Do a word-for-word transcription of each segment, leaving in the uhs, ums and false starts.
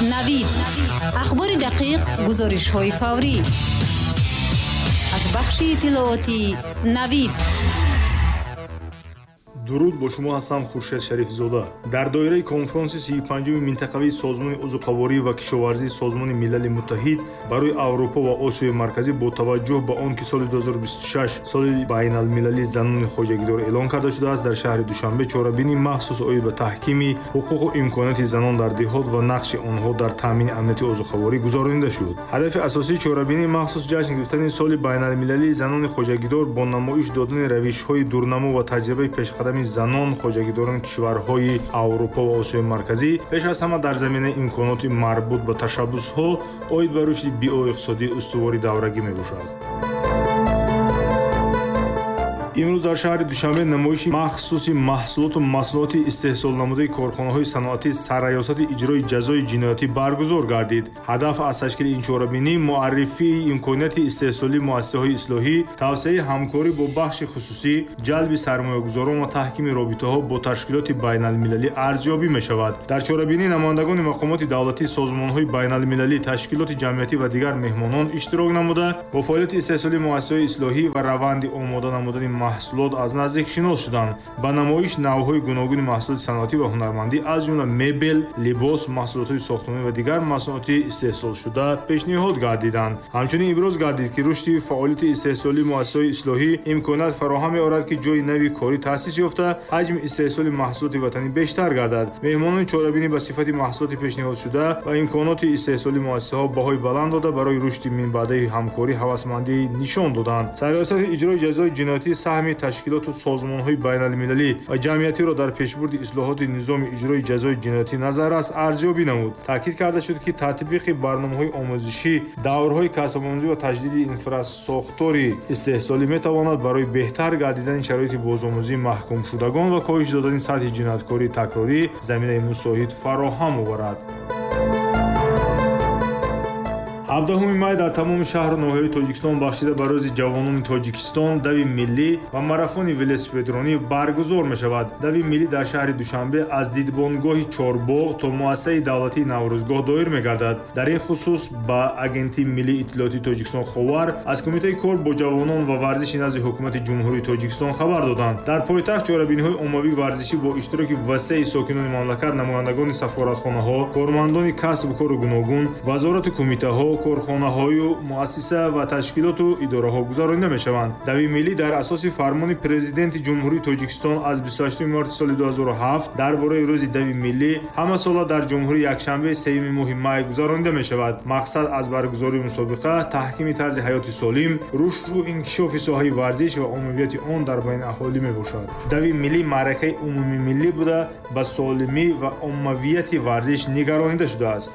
Навид. Ахбори дақиқ, гузоришҳои фаврӣ. Аз бахши иттилоотии Навид. Дуруд, бо шумо ҳастам Хуршед Шарифзода. Дар доираи конфронси сию панҷуми минтақавии Созмони озуқаворӣ ва кишоварзии Созмони Милали Муттаҳид барои Аврупо ва Осиёи Марказӣ бо таваҷҷӯҳ ба он ки соли ду ҳазору бисту шаш соли байналмилалии занони хоҷагидор эълон карда шудааст, дар шаҳри Душанбе чорабинии махсус оид ба таҳкими ҳуқуқу имконоти занон дар деҳот ва нақши онҳо дар таъмини амнияти озуқаворӣ гузаронида шуд. Ҳадафи асосии чорабинии махсус ҷашн гирифтани соли байналмилалии занони хоҷагидор бо намоиш додани равишҳои дурнамо ва таҷрибаи пешқадами занон хоҷагидорони кишварҳои Аврупо ва Осиёи Марказӣ пеш аз ҳама дар заминаи имконоти марбут ба ташаббусҳо оид ба рушди биоиқтисодии устувори даврагӣ мебошад. Имрӯз дар шаҳри Душанбе намоиши махсуси маҳсулоту маҳсулоти истеҳсолнамудаи корхонаҳои саноатӣ сарраёсати иҷрои ҷазои ҷиноятӣ баргузор гардид. Ҳадаф аз ташкили ин чорабинӣ муаррифии имконияти истеҳсолии муассисаҳои ислоҳӣ, тавсеаи ҳамкорӣ бо бахши хусусӣ, ҷалби сармоягузорон ва таҳкими робитаҳо бо ташкилоти байналмилалӣ арзёбӣ мешавад. Дар чорабинӣ намояндагони мақомоти давлатӣ, созмонҳои байналмилалӣ, ташкилоти ҷамъиятӣ ва дигар меҳмонон иштирок намуда, бо фаъолияти истеҳсолии муассисаҳои ислоҳӣ ва раванди омода намудани маҳсулот аз наздик шинос шуданд. Ба намоиш навъҳои гуногуни маҳсулоти саноатӣ ва ҳунармандӣ аз ҷумла мебел, либос, маҳсулотҳои сохтмонӣ ва дигар масъулоти истеҳсолшуда пешниҳод гардиданд. Ҳамчунин иброз гардид, ки рушди фаъолияти истеҳсолии муассисаҳои ислоҳӣ имконият фароҳам меорад, ки ҷойи нави корӣ таъсис ёфта, ҳаҷми истеҳсоли маҳсулоти ватанӣ бештар гардад. Меҳмонони чорабинӣ ба сифати маҳсулоти пешниҳодшуда ва имконоти истеҳсолии муассисаҳо баҳои баланд дода, барои рушди минбаъдаи ҳамкорӣ ҳавасмандӣ нишон доданд. Сарраёсати иҷрои ҷазои ҷиноятӣ саҳми ташкилоту созмонҳои байналмилалӣ ва ҷамъиятиро дар пешбурди ислоҳоти низоми иҷрои ҷазои ҷиноятӣ назаррас арзёбӣ намуд. Таъкид карда шуд, ки татбиқи барномаҳои омӯзишӣ, даврҳои касбомӯзӣ ва таҷдиди инфрасохтори истеҳсолӣ метавонад барои беҳтар гардидани шароити бозомӯзии маҳкумшудагон ва коҳиш додани сатҳи ҷинояткории такрорӣ заминаи мусоид фароҳам оварад. ҳабдаҳуми май дар тамоми шаҳру ноҳияҳои Тоҷикистон бахшида ба рӯзи ҷавонони Тоҷикистон дави миллӣ ва марафони велосипедронӣ баргузор мешавад. Дави миллӣ дар шаҳри Душанбе аз дидбонгоҳи Чорбоғ то муассисаи давлатии Наврӯзгоҳ доир мегардад. Дар ин хусус ба Агентии миллии иттилоотии Тоҷикистон Ховар аз Кумитаи кор бо ҷавонон ва варзиши назди Ҳукумати Ҷумҳурии Тоҷикистон хабар доданд. Дар пойтахт чорабиниҳои оммавии варзишӣ бо иштироки васеи сокинони мамлакат, намояндагони сафоратхонаҳо, кормандони касбу кору гуногун, вазорату кумитаҳо, корхонаҳою муассиса ва ташкилоту идораҳо гузаронида мешаванд. Дави миллӣ дар асоси фармони Президенти Ҷумҳурии Тоҷикистон аз бисту ҳаштуми марти соли ду ҳазору ҳафт дар бораи рӯзи дави миллӣ ҳамасола дар ҷумҳурӣ якшанбе сеюми моҳи май гузаронида мешавад. Мақсад аз баргузории мусобиқа таҳкими тарзи ҳаёти солим, рушду инкишофи соҳаи варзиш ва оммавияти он дар байни аҳолӣ мебошад. Дави миллӣ маъракаи умумимиллӣ буда, ба солимӣ ва оммавияти варзиш нигаронида шудааст.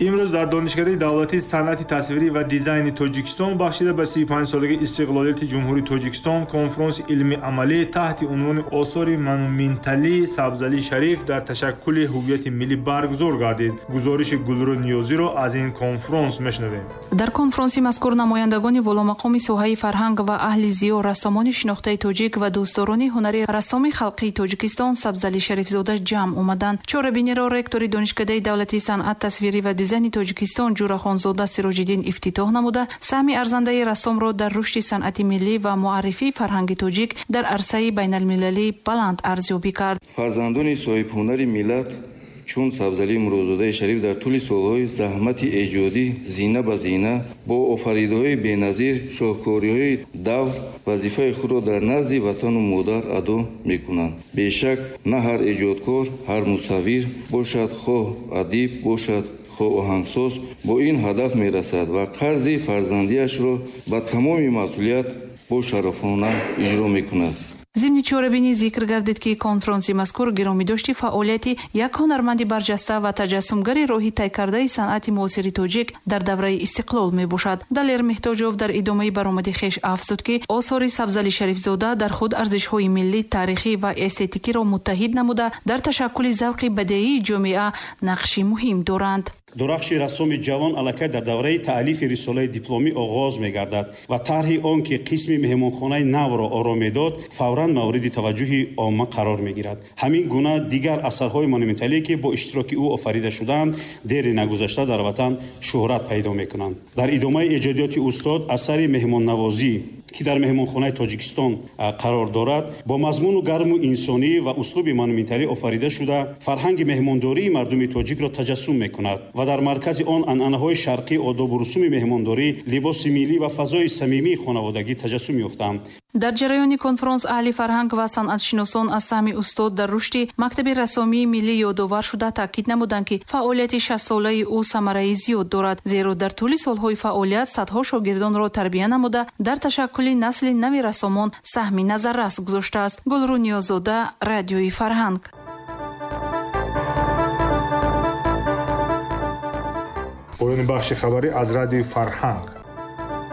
Имрӯз дар Донишкадаи давлатии санъати тасвирӣ ва дизайни Тоҷикистон бахшида ба сию панҷ солагии истиқлолияти Ҷумҳурии Тоҷикистон конфронси илмии амалӣ таҳти унвони осори монументалии Сабзалӣ Шариф дар ташаккули ҳуввияти миллӣ баргузор гардид. Гузориши Гулрӯ Ниёзиро аз ин конфронс мешунавем. Дар конфронси мазкур намояндагони воломақоми соҳаи фарҳанг ва аҳли зиё, рассомони шинохтаи тоҷик ва дӯстдорони ҳунари рассоми халқии Тоҷикистон Сабзалӣ Шарифзода ҷамъ омаданд. Чорабиниро ректори Донишкадаи давлатии санъат тасвирӣ ва дизайни Тоҷикистон Ҷурахонзода Сироҷиддин ифтитоҳ намуда, саҳми арзандаи рассомро дар рушди санъати миллӣ ва муаррифии фарҳанги тоҷик дар арсаи байналмилалӣ баланд арзёбӣ кард. Фарзандони соҳибҳунари миллат чун Сабзалӣ Муродзодаи Шариф дар тӯли солҳои заҳмати эҷодӣ зина ба зина бо офаридаҳои беназир, шоҳкориҳои давр вазифаи худро дар назди ватану модар адо мекунанд. Бешак, на ҳар эҷодкор, ҳар мусаввир бошад, хоҳ адиб бошад, хоҳ оҳангсоз, бо ин ҳадаф мерасад ва қарзи фарзандиашро ба тамоми масъулият бо шарафона иҷро мекунад. Зимни чорабинӣ зикр гардид, ки конфронси мазкур гиромидошти фаъолияти як ҳунарманди барҷаста ва таҷассумгари роҳи тай кардаи санъати муосири тоҷик дар давраи истиқлол мебошад. Далер Меҳтоҷов дар идомаи баромади хеш афзуд, ки осори Сабзалӣ Шарифзода дар худ арзишҳои миллӣ, таърихӣ ва эстетикиро муттаҳид намуда, дар ташаккули завқи бадеии ҷомеа нақши муҳим доранд. Дурахши рассоми ҷавон аллакай дар давраи таълифи рисолаи дипломӣ оғоз мегардад ва тарҳи он, ки қисми меҳмонхонаи навро оро медод, фавран мавриди таваҷҷӯҳи омма қарор мегирад. Ҳамин гуна дигар асарҳои монументалие, ки бо иштироки ӯ офарида шудаанд, дери нагузашта дар ватан шӯҳрат пайдо мекунанд. Дар идомаи эҷодиёти устод асари меҳмоннавозӣ, ки дар меҳмонхонаи Тоҷикистон қарор дорад, бо мазмуну гарму инсонӣ ва услуби монументалӣ офарида шуда, фарҳанги меҳмондории мардуми тоҷикро таҷассум мекунад ва дар маркази он анъанаҳои шарқӣ, одобу русуми меҳмондорӣ, либоси миллӣ ва фазои самимии хонаводагӣ таҷассум ёфтаанд. Дар ҷараёни конфронс аҳли фарҳанг ва санъатшиносон аз саҳми устод дар рушди мактаби рассомии миллӣ ёдовар шуда таъкид намуданд, ки фаъолияти шастсолаи ӯ самараи зиёд дорад, зеро дар тӯли солҳои фаъолият садҳо шогирдонро тарбия намуда дар ташаккули насли нави рассомон саҳми назаррас гузоштааст. Гулрӯ Ниёзода, Радиои Фарҳанг. Поёни бахши хабарӣ аз Радиои Фарҳанг.